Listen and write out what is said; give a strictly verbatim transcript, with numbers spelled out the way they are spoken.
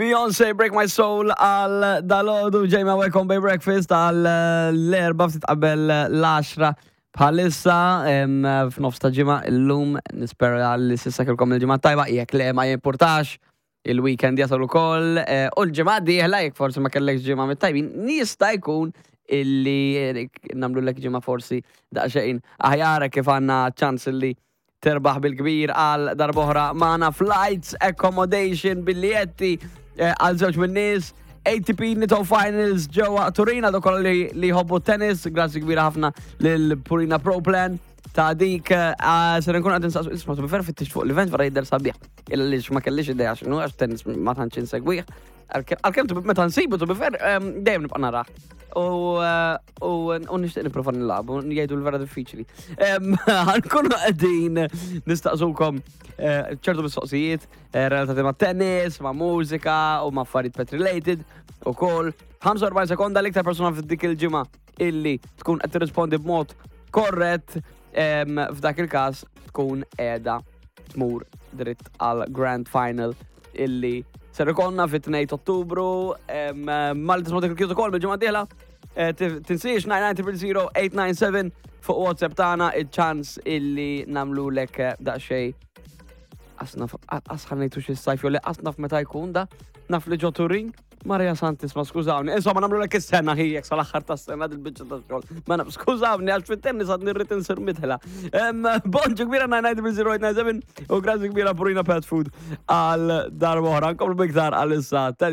Beyoncé, Break My Soul għal dalgħodu ġejma. Welcome by Breakfast għal l-erbgħa ftit qabel l-għaxra bħalissa em, f'nofs ta' ġimgħa illum. Nispera li s'issa kellkom il-ġimgħa tajba, jekk le ma jimpurtax, il-weekend jasal ukoll eh, u l-ġimgħa dieħla jekk forsi ma kellekx ġimgħa mit-tajbin, jista' jkun illi eh, nagħmlu lek ġimgħa forsi daqsxejn aħjar kif għandna ċans illi terbaħ bil-kbir għal darb'oħra magħna flights, accommodation, biljetti eh, għal żewġ min-nies, A T P Nitto Finals ġewwa Turin, għal kollha li, li jħobbu tennis, grazzi kbira ħafna lil Purina Pro Plan ta' dik eh, ser nkun qed insaqsu. Isma', to be fair, fittix fuq l-event, vera jidher sabiħ. Illa li ma kellix idea x'inhu għax tennis ma tantx insegwih. Għalkemm to be- meta nsibu, to be fair, em, dejjem nibqa' narah. U eh, u u nixtieq nipprova nilagħbu, jgħidu l-vera diffiċli. Em, Ħa nkunu qegħdin nistaqsukom eh, ċertu mistoqsijiet eh, relatati ma' tennis, ma' mużika u ma' affarijiet pet related u kol. ħamsa u erbgħin sekonda, l-iktar persona f'dik il-ġimgħa illi tkun qed tirrispondi b'mod korrett em, f'dak il-każ tkun qiegħda tmur dritt għal Grand Final illi ser ikollna fit-tnejn Ottubru mal tisma' dik il-kjutu kol bil-ġimgħa dieħla. Eh, tif- Tinsiex nine nine zero zero eight nine seven fuq WhatsApp tagħna, il-ċans illi nagħmlu lek eh, daqsxejn asnaf asħanejtu xi sajf jew le asnaf meta jkun da naf li ġo Turin. Maria Santis, ma skużawni, insomma nagħmlu lek is-sena ħijek sal-aħħar tas-sena dil-biċċa ta' xogħol. Ma naf, skużawni għax fit-tennis għad nirrid insir midħla. Bonġu kbira nine nine zero zero eight nine seven u grazzi kbira Purina Pet Food għal darba oħra. Nkomplu biktar għal issa.